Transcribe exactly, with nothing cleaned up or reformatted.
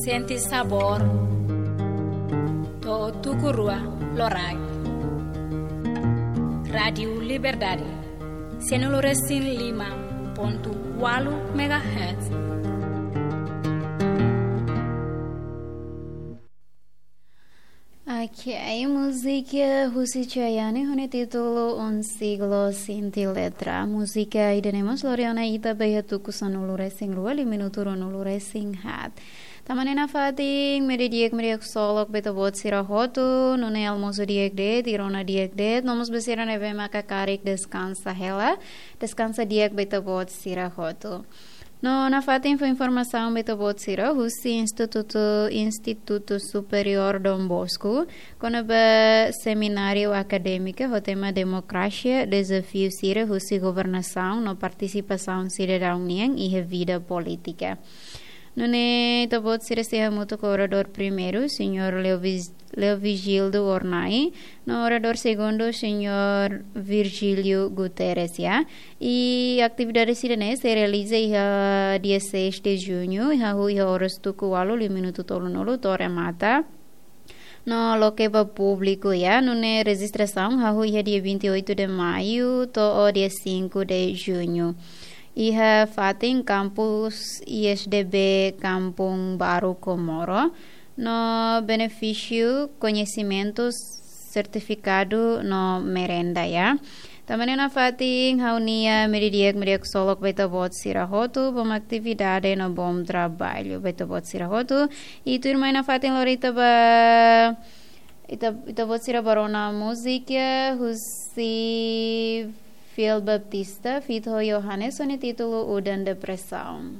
Sente sabór. To'o tuku rua loraik. Rádiu Liberdade. Sianulu-resin-lima pontu ualu megahertz. Ok, múzika husi Chayanne ho nia títulu Un Siglo Sin Ti Letra. Múzika ida-ne'e mós lori ona ita ba iha tuku sanulu-resin-rua, liu minutu ruanulu-resin-haat. Tanba ne'e nafatin, media di'ak, media ksolok ba ita-boot sira hotu, nune'e almosu di'ak de'it, rona di'ak de'it, no mós ba sira ne'ebé maka karik deskansa hela, deskansa di'ak ba ita-boot sira hotu. No nafatin fó informasaun ba ita-boot sira husi Institutu, Institutu Superiór Dom Bosco, kona-ba semináriu akadémiku ho tema Demokrasia, Dezafiu sira husi Governasaun no Partisipasaun Sidadaun nian iha Vida Polítika. Nune'e ita-boot sira sei hamutuk ho oradór primeiru, Señór Leo Vis-, Leo Vigildo Ornai, no oradór segundu, Señór Virgílio Guterres, ya. I atividade sira-ne'e sei realiza iha dia seis de junho, iha hahú iha oras tuku ualu liu minutu tolunulu to'o remata. No loke ba públiku, ya, nune'e rejistrasaun hahú iha dia vinte e oito de maio to'o dia cinco de junho. Iha fatin kampus I S D B Kampung Baru Comoro, no benefísiu koñesimentus, sertifikadu no merenda, ya. Tanba ne'e nafatin ha'u-nia media di'ak, media ksolok ba ita-boot sira hotu, bom atividade no bom traballu ba ita-boot sira hotu. I tuirmai nafatin lori ita ba, ita, ita-boot sira ba rona múzika husi Phil Baptista, feat ho Johannes, ho nia títulu Udan Depresaun.